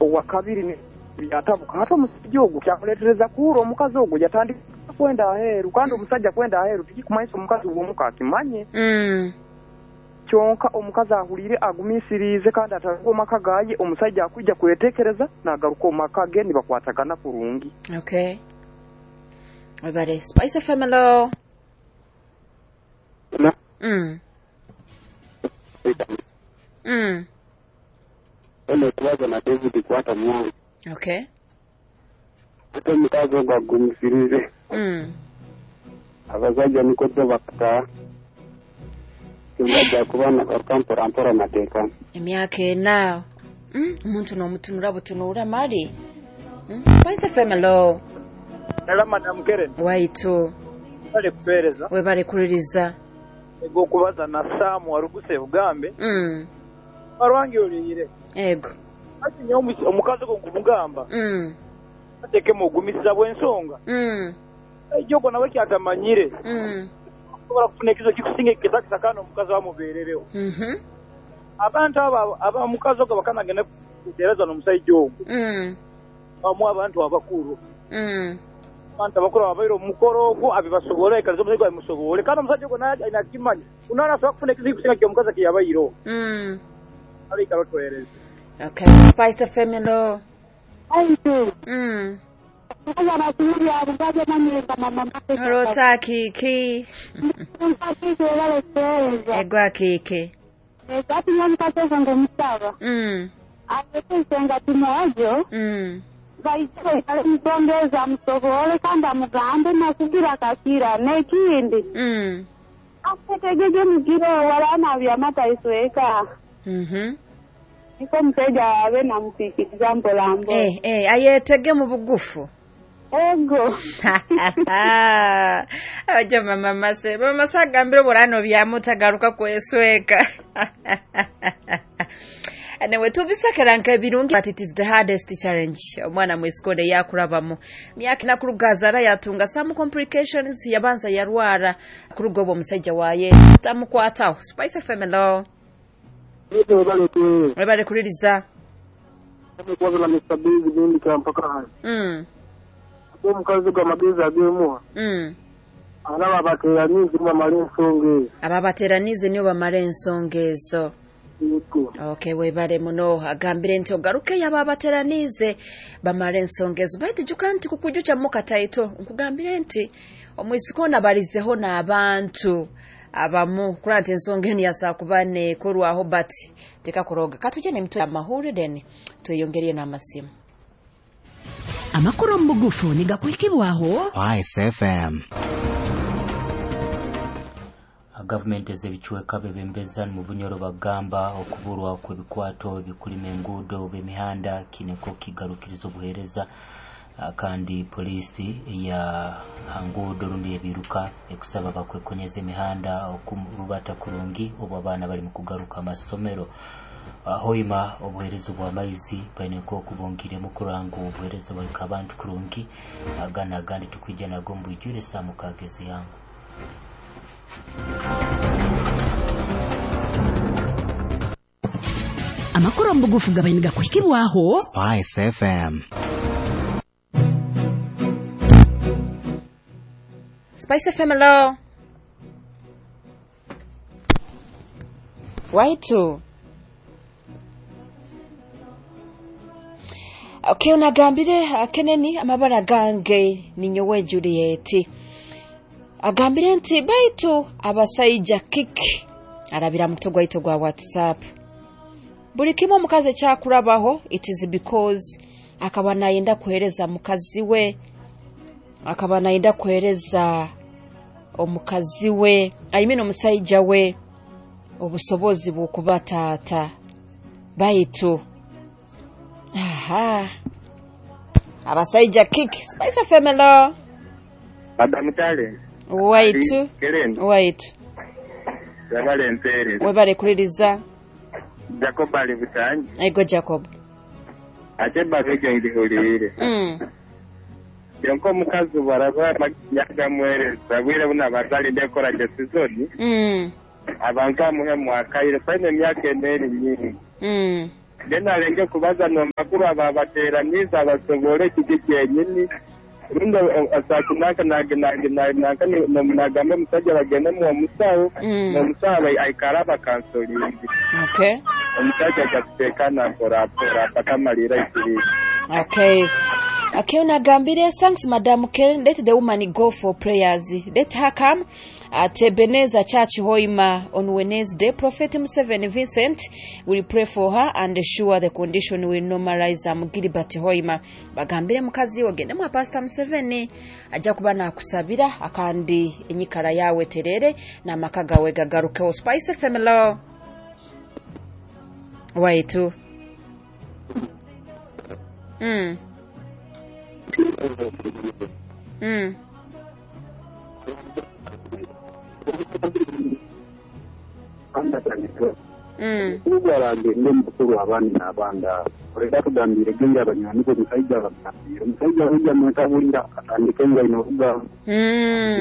Owakabiri byatabuka hati omusajja ogwo kyamuleetereza kuhurra omukazi ogwo yatandika kwenda aheeru kandi omusajja kwenda aheeru tikikumanyisa omukazi w'omuka akimanye. Kyonka omukazi ahuliire agumiisiriize kandi ataruga omu maka gaye, omusajja akwija kweteekereza naagaruka omu maka ge nibakwatagana kurungi. Okay. Webale. Spice FM, hello. Eno kubaza na David kwata mwangu. Okay. Ate omukazi ogwo agumisirize. Abasajja niko byo bakata. Kyonka kuba nagaruka mpora mpora nateekana. Emyaka 4. Omuntu n'omutunura butunura mali. Spice FM, hello. Hello, Madam Keren. Waitu. Webale kupeereza. Webale kuliriza. Ego okubaza na Sam waruguse Bugambe. Arwangi oliyire. Ego. Ati nyo omukazi ogwo nkumugamba. Atekemu ogumisiza bw'ensonga. Ejogo nawe kyatamanyire. Osobola kufuna ekizo kikusinga ekitakisa kandi omukazi wamubeererewo. Abantu abo aba omukazi ogwo bakanagenda kuteereza n'omusajja ogwo. Bamuwa abantu abakuru. Abantu abakuru ababaire omu mukoro ogwo abibasobole kaliza omusajja abimusobole kandi omusajja ogwo naye alina akimanya. Unaona asobola kufuna ekizo kikusinga ky'omukazi ekiyabaireho. Alikalo otwohereze. Okay. Spice FM, hello. Aitu. Orota kiki. Egwa kiki. Baitongeza musobole kandi amugambe nakugira kakira n'ekindi. Ategeje mugiro wala byamata isweka. Niko mteja abe namusikiriza mpola mpola. Ayetege mu bugufu. Ego. Abajo mama mase. Mama mase agambire burano byamutagaruka kwesweka. Anyway, tubisakera nka ebirungi, but it is the hardest challenge. Omwana mwisikole yakurabamu. Myaka nakurugazara yatunga some complications, yabanza yarwara kuruga obwo omusajja waye tamukwataho. Spice FM, hello. Webale kuliriza. Kwazala Mr. Big nindi kampaka hano. Omukazi gw'amagezi agemuha. Alaba abateranize bamala ensonga ezo. Aba abateranize nibo bamala ensonga ezo. Okay, webale muno agambire nti ogaruke yaba abateranize bamala ensonga ezo. Baitu juka nti kukujucha mukataito nkugambire nti omwisiko nabarizeho n'abantu abamu kula nti ensonga eno yasakuba nekorwaho but tekakuroga. Katuje ne mutwe amahuri then tweyongereye n'amasimu. Amakuru mu bugufu nigakwikibwaho Spice FM. Gavumenti ez'ebichweka bebembeza mu Bunyoro bagamba okuburwa kw'ebikwato ebikulima enguudo b'emihanda kineko kigarukiriza obuheereza, kandi poliisi ya hanguudo rundi ebiruka ekusaba bakwekonyeza emihanda okurubata kurungi obu abaana bari mu kugaruka amasomero. Hoima obuheereza bw'amaizi baineko okubongiremu kuranga obuheereza bwahika abantu kurungi, agana agandi tukwija nago mbwijure saa mukaaga ez'eihangwe. Amakuru mu bugufu gabaine gakuhikibwaho Spice FM. Spice FM, hello. Waitu. Okay, unagambire akeneni amabara gange ninyowe Juliet. Agambire nti baitu abasajja kiki arabira muto gwaito gwa WhatsApp. Buli kimu omukazi ekyakurabaho it is because akaba nayenda kuhereza mukazi we, akaba nayenda kuhereza omukazi we, I mean omusajja we obusobozi bw'okuba taata. Baitu aha abasajja kiki. Spice FM, hello. Madam Tale. Waitu. Keren. Waitu. Webale mpeereza. Webale kuliriza. Jacob ali butangi. Ego Jacob. Ate babejo ndihulire. Yonko omukazi baraba yagamwereza bwire buna bazali ndekora je season. Abantu amuhe mwakaire faine emyaka eneri nyingi. Then alenge kubaza n'omakuru ababateeraniize abasobole kiki kyenyini. Rundi asakinaka nanka nagamba omusajja bagendemu omusawo, n'omusawo aikara abakansolingi. Okay. Omusajja ajja kuteekana mpora mpora paka amalira ikiriza. Okay. Okay, unagambire thanks Madam Karen, let the woman go for prayers. Let her come at Ebenezer Church Hoima on Wednesday. Prophet Museveni Vincent will pray for her and sure the condition will normalize. Gilbert Hoima. Bagambire mukazi ogende mwa Pastor Museveni ajja kuba nakusabira akandi enyikara yawe terere n'amaka gawe gagarukeho. Spice FM lo. Waitu. Ugarange ndi mukuru abandi n'abanda oleka tugambire genda abanywani omusajja bagambire omusajja ojja mwekabulira atandike nga ino olugamba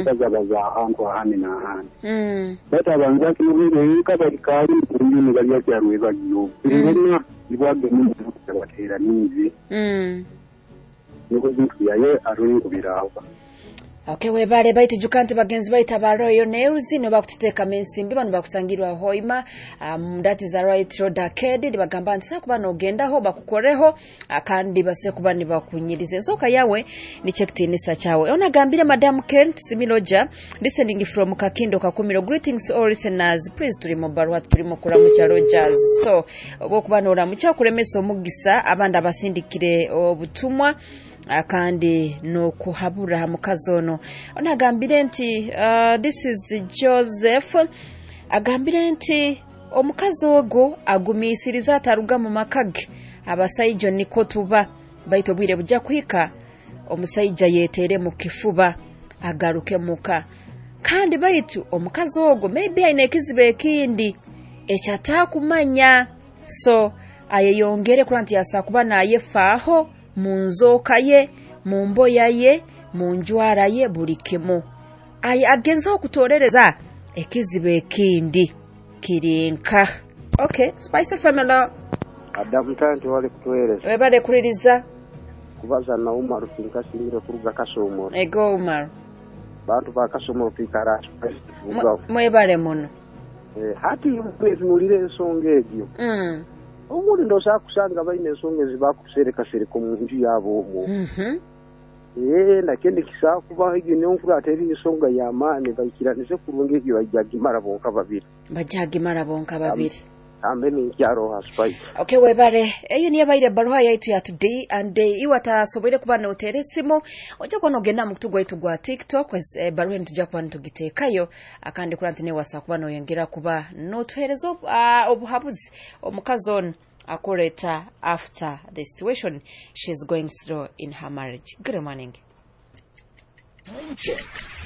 kazabaza ahantu ahandi n'ahandi bata abanza kinobere balikaali mukunjuni balya kyarwe bagiyo birena ibwagemu bateeraniize niko bintu yaye arungubiraho. Okay, webale baiti jukanti bagenzi baita baroyo neuzi no bakuteteeka mensimbi bano bakusangirwa Hoima that is a right road arcade bagamba nti sakuba nogendaho bakukoreho kandi base kuba nibakunyirize ensoka yawe ni checktinisa chawe. Ona gambire Madam Kent Similoja listening from Kakindo Kakumiro. Greetings to all listeners, please tuli mu barua tuli mu kulamucha Rogers. So obokuba noramucha kulemesa omugisa abandi abasindikire obutumwa kandi no kuhabura mukazi ono. Onagambire nti this is Joseph agambire nti omukazi ogwo agumiisiriza ataruga mu makage abasajja niko tuba baito bwire bujja kuhika omusajja yeetere mu kifuba agaruke muka kandi baitu omukazi ogwo maybe aine ekizibu ekindi ekyataakumanya so ayeyongere kula nti yasa kuba nayefaaho mu nzooka ye, mu mboya ye, mu njwara ye buli kimu. Aye agenza okutolereza ekizibu ekindi kirinka. Okay, Spice Family. Adamu tanti wali kutuweereza. Webale kuliriza. Kubaza na Umar tinkasingire kuruga Kasomoro. Ego Umar. Bantu ba Kasomoro twikara Mwebale muno. Hati mwetunulire ensonga egyo. Obundi ndowooza kusanga balina ensonga ezibakuserekasereka mu nju yaabo omwo. Nakindi kisaa kuba egyo nenkula ateri ensonga y'amaani baikiranize kurungi egyo bajjagimara bonka babiri. Bajjagimara bonka babiri. Ambe ninkyaro ha Spice. Okay, webale. Eyo niyo baire baruha yaitu ya today and iwe atasoboire kuba noteera esimu ojja kuba nogenda mu kutu gwaitu gwa TikTok baruha enu tujja kuba nitugiteekayo akandi kula nti newasa kuba noyongera kuba notuheereza obuhabuzi omukazi ono akureta after the situation she's going through in her marriage. Good morning. Time check.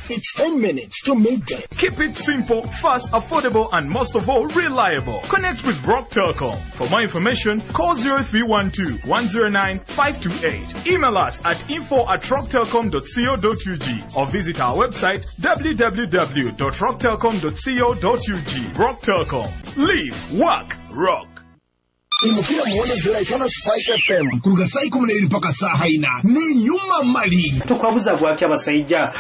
It's 10 minutes to midday. Keep it simple, fast, affordable, and most of all, reliable. Connect with Rock Telcom. For more information, call 0312 109 528. Email us at info@rocktelcom.co.ug or visit our website www.rocktelcom.co.ug. Rock Telcom. Live, work, rock. Imukira muone ziraitana Spice FM kuruga saa 12 mpaka saa 4 ni nyuma mali tukwabuza gwaki abasajja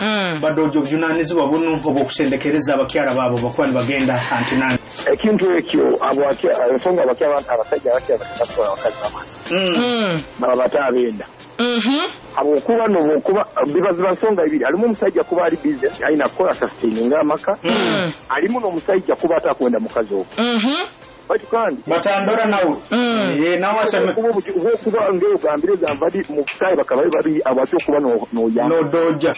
badojo obuvunanyizibwa buno obw'okusendekereza abakyala baabo bakuba nibagenda antinani ekintu ekyo ensonga abasajja abakyala abakazi bamani baba batabenda habwokuba nobwokuba bibaziba nsonga ibiri alimu omusajja kuba ali busy alina kukola sustaininga amaka alimu n'omusajja kuba atakwenda mukazi ogwo batu kandi batandora nawe nawe aseme kuba ngero gambire gambadi mu kutayi bakaba babi abatyo kuba no no ya no doja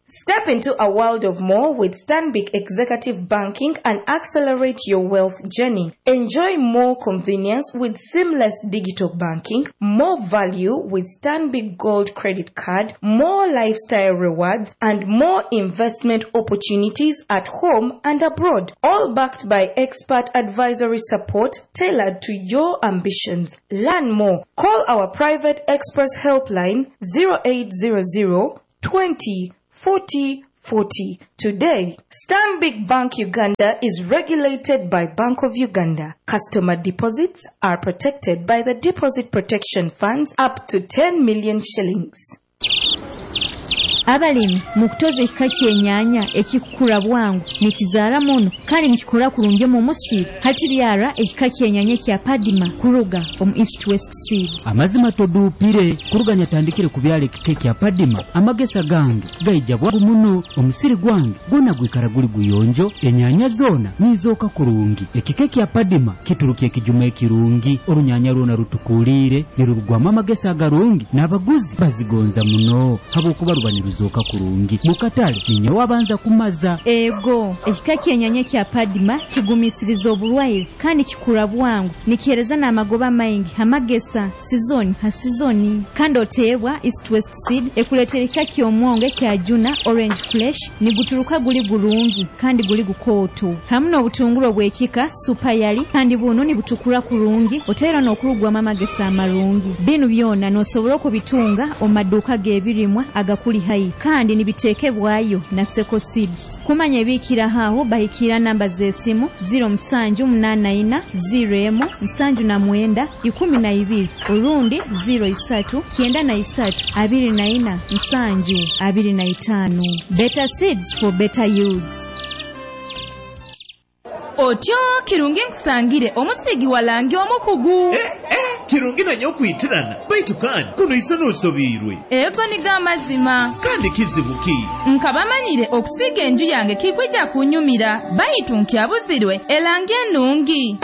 Step into a world of more with Stanbic Executive Banking and accelerate your wealth journey. Enjoy more convenience with seamless digital banking, more value with Stanbic Gold Credit Card, more lifestyle rewards, and more investment opportunities at home and abroad. All backed by expert advisory support tailored to your ambitions. Learn more. Call our private express helpline 0800 20 40 40 today. Stanbic Bank Uganda is regulated by Bank of Uganda. Customer deposits are protected by the Deposit Protection Funds up to 10 million shillings. Abalimi mukutoza ekika ky'enyaanya ekikukura bwangu nikizaara muno kandi nikikura kurungi omu musiri. Hati byara ekika ky'enyaanya ekya Padima kuruga omu East West Seed. Amazima toduupire kuruga nyatandikire kubyara ekika ekya Padima, amagesa gange gaija bwangu muno, omusiri gwange gwona gwikara guli guyonjo, enyaanya zoona nizooka kurungi. Ekika ekya Padima kituruka ekijuma ekirungi, orunyanya rwona rutukuliire nirurugwamu amagesa agarungi n'abaguzi bazigonza muno habwokuba ruba niruzoka kurungi. Mukatale ninyowe abanza kumaza. Ego, ekika ky'enyaanya kya Padima kigumisiriza oburwaire kandi kikura bwangu, nikihereza n'amagoba maingi amagesa sizoni ha sizoni. Kandi oteebwa East West Seed ekuleetera ekika ky'omwongo ekya Juna Orange Flesh, niguturuka guli gurungi kandi guli gukooto, hamu n'obutunguru obw'ekika Super Yali kandi buno nibutukura kurungi, oteera n'okurugwamu amagesa amarungi. Binu byona n'osobola okubitunga omu maduuka g'ebirimwa agakuli haihi kandi nibiteekebwayo na Seko Seeds. Kumanya ebiikiraho aho bahikira namba z'esimu 0784 01 79 12 orundi 03 93 24 7 25. Better seeds for better yields. Otyo kirungi nkusangire omusigi walangi omukugu. Kirungi nanyo okwitirana baitu kandi kuno isa n'osobiirwe. Ego niga amazima. Kandi kizibu ki? Nkabamanyire okusiiga enju yange kikwija kunyumira baitu nkyabuzirwe elangi enungi.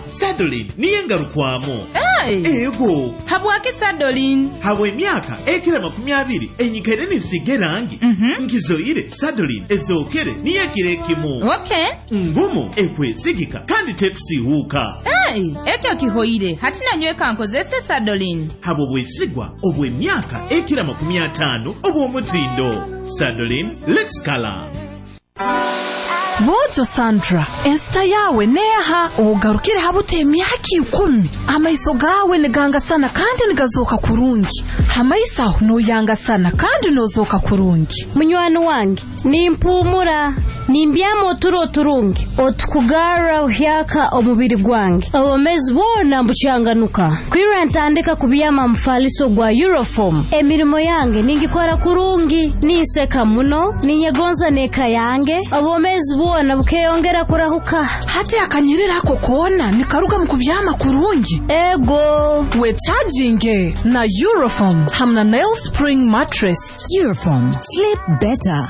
Sadolin niye ngarukwamu. Hey. Ego. Habwaki Sadolin? Habwa emyaka ekira 20 enyikaire nisiiga erangi. Nkizoire Sadolin ezookere niyo ekiro ekimu. Okay. Ngumu ekwesigika kandi tekusiihuuka. Hey, ekyo kihoire hati nanyweka nkozese Sadolin. Habwo bwesigwa obw'emyaka ekira 50 obw'omutindo. Sadolin, let's color. Bojo Sandra, ensita yawe neha ogarukire habuta emyaka 10. Amaiso gawe nigangasana kandi nigazoka kurungi. Hamaiso aho noyangasana kandi nozoka kurungi. Munywani wange nimpumura nimbyama oturo oturungi otukugara uhyaka omubiri gwange obomezi bwona mbucyanganuka kwira ntandika kubyama mufaliso gwa Euroform. Emirimo yange ningikora kurungi, ninseka muno, ninyegonza neka yange, obomezi bwona bukeyongera kurahuka. Hati akanyirira ako kona nikaruga mu kubyama kurungi. Ego we charging na Euroform hamna Nail Spring mattress. Euroform, sleep better.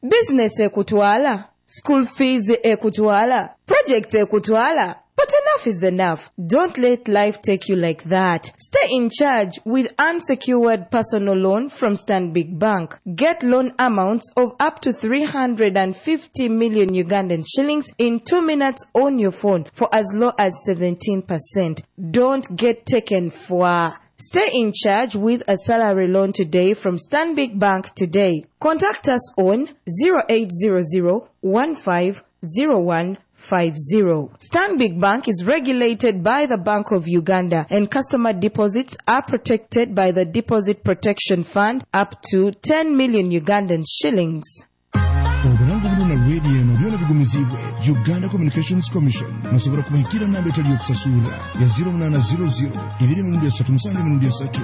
Business ekutwala, school fees ekutwala, project ekutwala. But enough is enough. Don't let life take you like that. Stay in charge with unsecured personal loan from Stanbic Bank. Get loan amounts of up to 350 million Ugandan shillings in 2 minutes on your phone for as low as 17%. Don't get taken for. Stay in charge with a salary loan today from Stanbic Bank today. Contact us on 0800 1501 50. Stanbic Bank is regulated by the Bank of Uganda and customer deposits are protected by the Deposit Protection Fund up to 10 million Ugandan shillings. Obulango buno na radio eno byona bigumizibwe Uganda Communications Commission. Nosobola kubahikira namba etali yokusasura ya 0800 2 3 7 3.